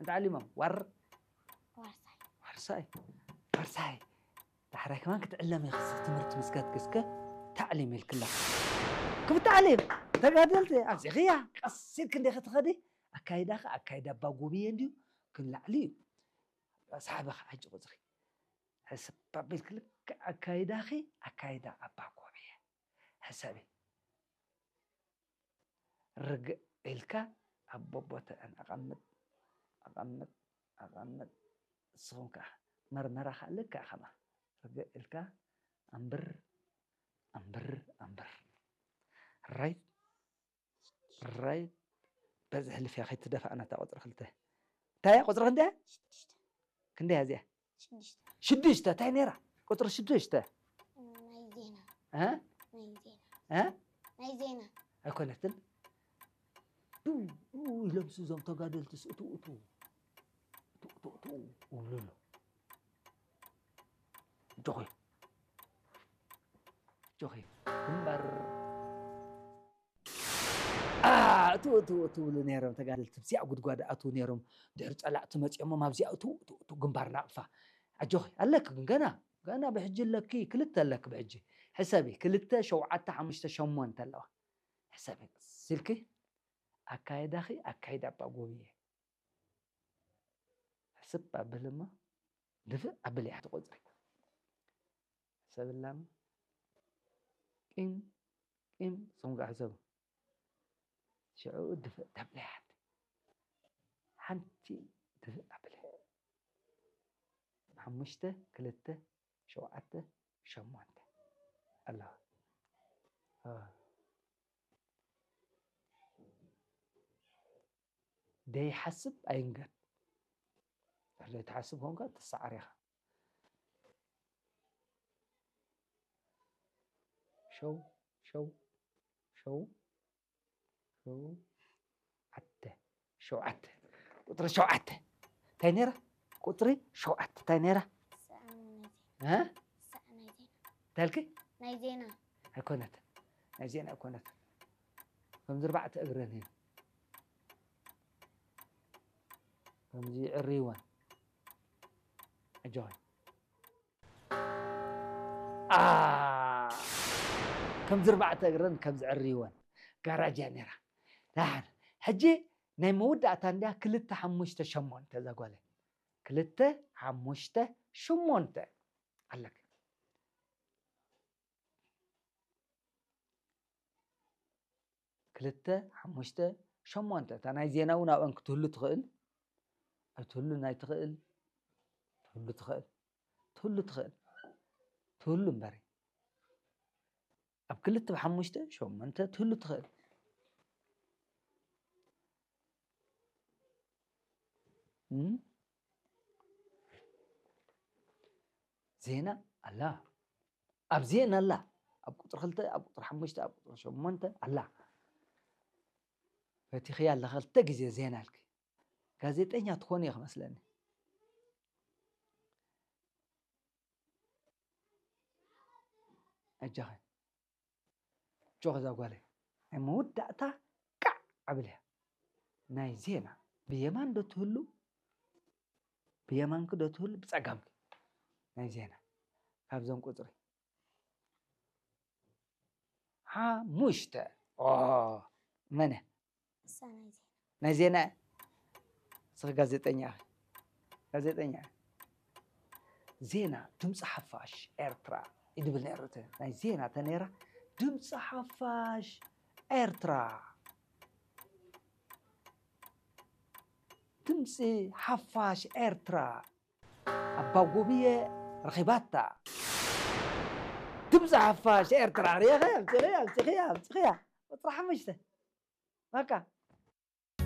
እንታይ ዓሊሞም? ዋር ዋርሳይ ዋርሳይ ዋርሳይ። ዳሕራይ ከማን ክትዕለም ኢኺ። ትምህርቲ ምስ ገድግስከ ታዕሊም ኢልክላ። ክብታዕሊም ተጋደልቲ ኣብዚኽያ ቀስ ኢልክ እንዲኺ ትኸዲ። ኣካይዳኺ ኣካይዳ ኣባ ጎብየ እንድዩ ክንላዕሊ እዩ። ሳሕበኺ ሕጂ ቁፅሪ ሕስብ ኣቢልክ ልክዕ ኣካይዳኺ ኣካይዳ ኣባ ጎብየ ሕሰቢ። ርግእ ኢልካ ኣብ ቦቦትአን ኣቐምጥ ኣቐምጥ ኣቐምጥ። ንስኹም ከዓ መርመራ ከዓ ልክዕ ከማ ርግእ ኢልካ ኣንብር ኣንብር ኣንብር። ራይት ራይት። በዚ ሕልፍያ ከይትደፋእና እታ ቁፅሪ ክልተ እንታይ እያ? ቁፅሪ ክንደይ እያ? ክንደይ እያ እዚኣ? ሽዱሽተ እንታይ ነይራ? ቁፅሪ ሽዱሽተ ናይ ዜና እ? ናይ ዜና እ? ናይ ዜና ኣይኮነትን። ዱ ዱ ኢሎም እዞም ተጋደልትስ እቱ እቱ እቱ እቱ እቱ ይብሉ ኣሎ። ጆኺ ጆኺ ግንባር አ፣ እቱ እቱ እቱ ይብሉ ነይሮም ተጋደልቲ። ኣብዚኣ ጉድጓድ ኣትዉ ነይሮም። ድሕሪ ፀላእቲ መፂኦሞም ኣብዚኣ እቱ እቱ እቱ ግንባር ናቕፋ። ኣጆኺ ኣለኪ ግን ገና ገና ብሕጂ ኣለኪ ክልተ ኣለኪ ብሕጂ። ሕሰቢ ክልተ ሸውዓተ ሓሙሽተ ሸሞንተ ኣለዋ። ሕሰቢ ስልኪ ኣካይዳኺ ኣካይዳ ኣባ ጎብየ። ሕስብ ኣብል እሞ ድፍእ ኣብል እያ ትቆፅሪ። ሕሰብላም ቂም ቂም ስኹም ከዓ ሕሰቡ። ሽዑ ድፍእ ተብለያ ሓንቲ ሓንቲ ድፍእ ኣብል። ሓሙሽተ ክልተ ሸውዓተ ሸሞንተ ኣለዋ። እ። ደይሓስብ ኣይንገር። ድሕሪ ዘይትሓስብ ኮንካ ትሰዓር ኢኻ። ሸው ሸው ሸው ሸውዓተ ሸውዓተ ቁፅሪ ሸውዓተ እንታይ ነይራ? ቁፅሪ ሸውዓተ እንታይ ነይራ? ሰኣን ናይ ዜና እ? ሰኣን ናይ ዜና እንታይ ኢልኪ? ናይ ዜና ኣይኮነትን። ናይ ዜና ኣይኮነትን። ከምዚ ኣርባዕተ እግረን እየን። ከምዚ ይዕርይወን። ኣጆኺ። ኣ፣ ከምዚ ኣርባዕተ እግረን ከምዚ ዕርይወን። ጋራጅ እያ ነይራ። ደሓን። ሕጂ ናይ መወዳእታ እንድያ ክልተ ሓሙሽተ ሸሞንተ እዛ ጓለይ። ክልተ ሓሙሽተ ሸሞንተ ኣለኪ። ክልተ ሓሙሽተ ሸሞንተ እታ ናይ ዜና እውን ኣብአን ክትህሉ ትኽእል። ኣይትህሉ ናይ ትኽእል ትህሉ ትኽእል ትህሉ ትኽእል ትህሉ እምበሪ ኣብ ክልተ ብሓሙሽተ ሸሞንተ ትህሉ ትኽእል። እም? ዜና ኣላ ኣብ ዜና ኣላ ኣብ ቁፅሪ ክልተ ኣብ ቁፅሪ ሓሙሽተ ኣብ ቁፅሪ ሸሞንተ ኣላ። ፈቲኽያ ኣለኻ ክልተ ግዜ ዜና ኣልኪ። ጋዜጠኛ ትኾኒ ኢኺ መስለኒ። ኣጃኺ ጆኽ እዛ ጓለይ ናይ መወዳእታ ቃዕ ኣብልያ ናይ ዜና ብየማን ዶ ትህሉ ብየማንኪ ዶ ትህሉ ብፀጋምኪ ናይ ዜና ካብዞም ቁፅሪ ሓሙሽተ ኦ መነ እሳ ናይ ዜና ናይ ዜና ስኺ ጋዜጠኛ ኢኺ ጋዜጠኛ ኢኺ ዜና ድምፂ ሓፋሽ ኤርትራ ይድብል ነይሩ እቲ ናይ ዜና ተነይራ ድምፂ ሓፋሽ ኤርትራ ድምፂ ሓፋሽ ኤርትራ ኣባ ጎብየ ረኺባታ ድምፂ ሓፋሽ ኤርትራ ሪኢኸ ኣምፅኽያ ኣምፅኽያ ኣምፅኽያ ቁፅሪ ሓሙሽተ በቃ